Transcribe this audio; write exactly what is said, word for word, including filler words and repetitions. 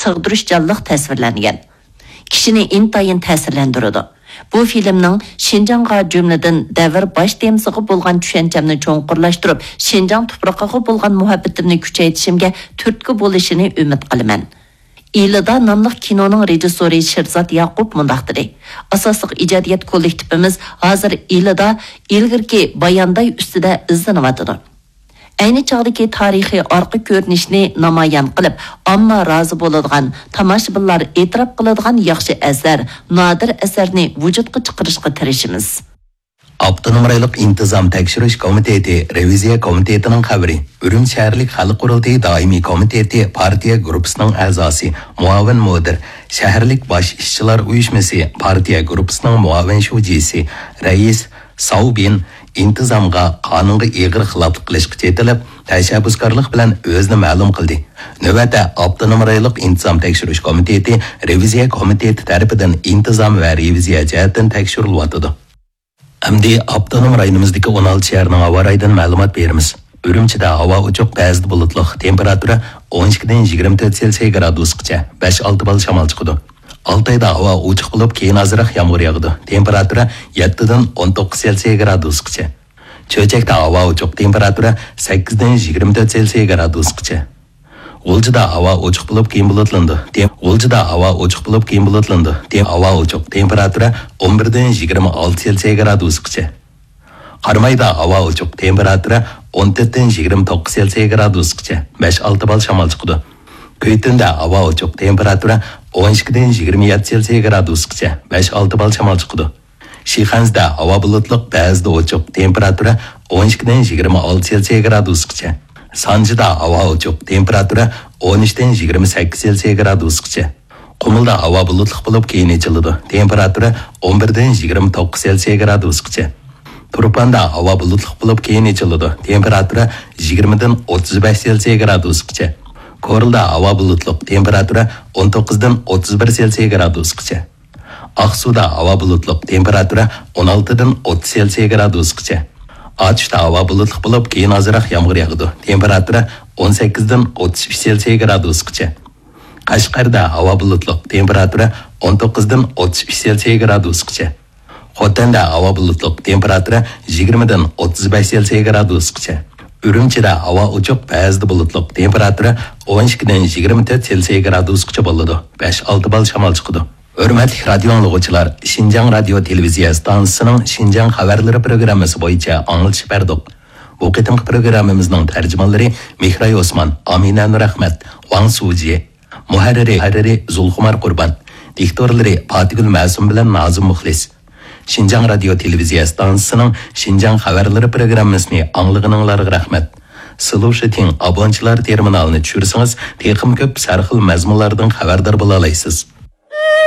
سىغدۇرۇشچانلىق تەسۋىرلەنگەن. كىشىنى ئىنتايىن تەسىرلەندۈرىدۇ. بۇ فىلىمنىڭ شىنجاڭغا، جۈملىدىن دەۋر باش تېمىسىغا بولغان چۈشەنچەمنى چوڭقۇرلاشتۇرۇپ، شىنجاڭ تۇپرىقىغا بولغان مۇھەببىتىمنى كۈچەيتىشىمگە تۈرتكە بولۇشىنى ئۈمىد قىلىمەن. ئىلىدا ناملىق كىنونىڭ رېژىسسورى شېرزات ياقۇپ مۇنداق دېدى: ئاساسلىق ئىجادىيەت كوللېكتىپىمىز ھازىر ئىلىدا ئىلگىرىكى بايانداي ئۈستىدە ئىزدىنىۋاتىدۇ. ئەينى چاغدىكى تارىخىي ئارقا كۆرۈنۈشنى نامايان قىلىپ، ئامما رازى بولىدىغان، تاماشىبىنلار ئېتىراپ قىلىدىغان ياخشى ئەسەر، نادىر ئەسەرنى ۋۇجۇدقا چىقىرىشقا تىرىشىمىز. ئاپتونوم رايونلۇق ئىنتىزام تەكشۈرۈش كومىتېتى رېۋىزىيە كومىتېتىنىڭ خەۋىرى. ئۈرۈمچى شەھەرلىك خەلق قۇرۇلتىيى دائىمىي كومىتېتى پارتىيە گۇرۇپپىسىنىڭ ئەزاسى، مۇئاۋىن مۇدىر، شەھەرلىك باش ئىشچىلار ئۇيۇشمىسى پارتىيە گۇرۇپپىسىنىڭ مۇئاۋىن شۇجىسى، رەئىس ساۋ بىن ئىنتىزامغا، قانۇنغا ئېغىر خىلاپلىق قىلىشقا چېتىلىپ، تەشەببۇسكارلىق بىلەن ئۆزىنى مەلۇم قىلدى. نۆۋەتتە ئاپتونوم رايونلۇق ئىنتىزام تەكشۈرۈش كومىتېتى رېۋىزىيە كومىتېتى تەرىپىدىن ئىنتىزام ۋە رېۋىزىيە جەھەتتىن تەكشۈرۈلۈۋاتىدۇ. ئەمدى ئاپتونوم رايونىمىزدىكى ئون ئالتە شەھەرنىڭ ھاۋا رايىدىن مەلۇمات بېرىمىز. ئۈرۈمچىدە ھاۋا ئوچۇق، بەزىدە بۇلۇتلۇق، تېمپېراتۇرا ئون ئىككىدىن يىگىرمە تۆت سېلسىيە گرادۇسقىچە، بەش ئالتە بال شامال چىقىدۇ. ئالتايدا ھاۋا ئوچۇق بولۇپ، كېيىن ئازراق يامغۇر ياغىدۇ. تېمپېراتۇرا يەتتىدىن ئون توققۇز سېلسىيە گرادۇسقىچە. چۆچەكتە ھاۋا ئوچۇق، تېمپېراتۇرا سەككىزدىن يىگىرمە تۆت سېلسىيە گرادۇسقىچە. غۇلجىدا ھاۋا ئوچۇق بولۇپ، كېيىن بۇلۇتلىنىدۇ. تېم-، غۇلجىدا ھاۋا ئوچۇق بولۇپ، كېيىن بۇلۇتلىنىدۇ. تېم-، ھاۋا ئوچۇق، تېمپېراتۇرا ئون بىردىن يىگىرمە ئالتە سېلسىيە گرادۇسقىچە. قارامايدا ھاۋا ئوچۇق، تېمپېراتۇرا ئون تۆتتىن يىگىرمە توققۇز سېلسىيە گرادۇسقىچە، بەش ئالتە بال شامال چىقىدۇ. كۈيتۈندە ھاۋا ئوچۇق، تېمپېراتۇرا ئون ئىككىدىن يىگىرمە يەتتە سېلسىيە گرادۇسقىچە، بەش ئالتە بال شامال چىقىدۇ. شىخەنزىدە ھاۋا بۇلۇتلۇق، بەزىدە ئوچۇق، تېمپېراتۇرا ئون ئىككىدىن يىگىرمە ئالتە سېلسىيە گرادۇسقىچە. سانجىدا ھاۋا ئوچۇق، تېمپېراتۇرا ئون ئۈچتىن يىگىرمە سەككىز سېلسىيە گرادۇسقىچە. قۇمۇلدا ھاۋا بۇلۇتلۇق بولۇپ، كېيىن ئېچىلىدۇ. تېمپېراتۇرا ئون بىردىن يىگىرمە توققۇز سېلسىيە گرادۇسقىچە. تۇرپاندا ھاۋا بۇلۇتلۇق بولۇپ، كېيىن ئېچىلىدۇ. تېمپېراتۇرا يىگىرمىدىن ئوتتۇز بەش سېلسىيە گرادۇسقىچە. كورلىدا ھاۋا بۇلۇتلۇق، تېمپېراتۇرا ئون توققۇزدىن ئوتتۇز بىر سېلسىيە گرادۇسقىچە. ئاقسۇدا ھاۋا بۇلۇتلۇق، تېمپېراتۇرا ئون ئالتىدىن ئوتتۇز سېلسىيە گرادۇسقىچە. ئاتۇشتا ھاۋا بۇلۇتلۇق بولۇپ، كېيىن ئازراق يامغۇر ياغىدۇ. تېمپېراتۇرا ئون سەككىزدىن ئوتتۇز ئۈچ سېلسىيە گرادۇسقىچە. قەشقەردە ھاۋا بۇلۇتلۇق، تېمپېراتۇرا ئون توققۇزدىن ئوتتۇز ئۈچ سېلسىيە گرادۇسقىچە. خوتەندە ھاۋا بۇلۇتلۇق، تېمپېراتۇرا يىگىرمىدىن ئوتتۇز بەش سېلسىيە گرادۇسقىچە. ئۈرۈمچىدە ھاۋا ئوچۇق، بەزىدە بۇلۇتلۇق، تېمپېراتۇرا ئون ئىككىدىن يىگىرمە تۆت سېلسىيە گرادۇسقىچە بولىدۇ، بەش ئالتە بال شامال چىقىدۇ. ھۆرمەتلىك رادىيو ئاڭلىغۇچىلار، شىنجاڭ رادىيو تېلېۋىزىيە ئىستانسىسىنىڭ شىنجاڭ خەۋەرلىرى پروگراممىسى بويىچە ئاڭلىتىش بەردۇق. بۇ قېتىمقى پروگراممىمىزنىڭ تەرجىمانلىرى مېھراي ئوسمان، ئامىنە نۇرئەخمەت، ۋاڭ سۇجى، مۇھەررىرى، مۇھەررىرى زۇلخۇمار قۇربان، دىكتورلىرى پاتىگۈل مەسۇم بىلەن نازىم مۇخلىس. شىنجاڭ رادىيو تېلېۋىزىيە ئىستانسىسىنىڭ شىنجاڭ خەۋەرلىرى پروگراممىسىنى ئاڭلىغىنىڭلارغا رەھمەت. سلۇشىتىڭ ئابونچىلار تېرمىنالىنى چۈشۈرسىڭىز، تېخىمۇ كۆپ سەرخىل مەزمۇنلاردىن خەۋەردار بولالايسىز.